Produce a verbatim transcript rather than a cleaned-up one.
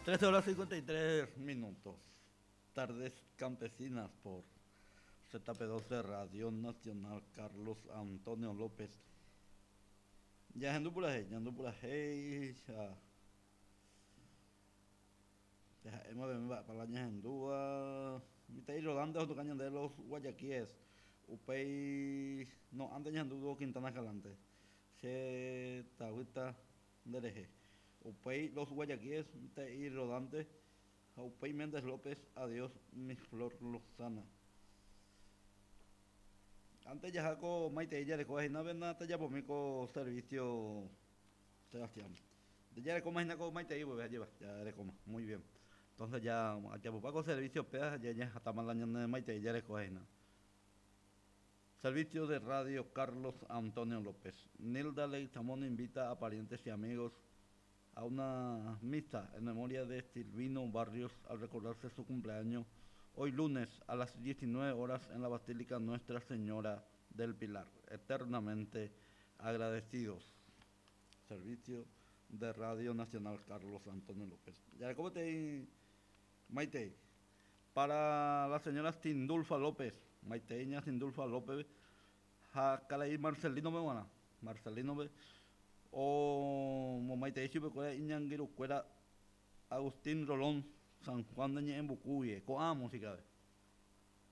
Trece horas cincuenta y tres minutos. Tardes Campesinas por Z P doce Radio Nacional Carlos Antonio López. Ya ando por ahí, ya ando por ahí, ya. Ya hemos de para la ñandúa. Mi rodando otro cañón de los Guayaquíes. Upey no antes ñandú Quintana Escalante. Se tagüita dereje. Upey los Guayaquíes, y rodante. Upey Méndez López, adiós mi flor lozana. Antes ya jaco Maite ella le coge na vena te ya pomico servicio Sebastián. Ya le coma con Maite y pues lleva, ya le coma, muy bien. Entonces ya ya poco servicio pea ya ya hasta mal año de Maite ella le coge na. Servicio de Radio Carlos Antonio López. Nilda Leguizamón invita a parientes y amigos a una misa en memoria de Silvino Barrios al recordarse su cumpleaños hoy lunes a las diecinueve horas en la Basílica Nuestra Señora del Pilar. Eternamente agradecidos. Servicio de Radio Nacional Carlos Antonio López. Ya, ¿cómo te Maite? Para la señora Sindulfa López, Maiteña Sindulfa López, Jacalay Marcelino me van a, Marcelino me, o Maite Ichipe, Iñanguiru, Cuera, Agustín Rolón, San Juan de Ñembucuye, coa música.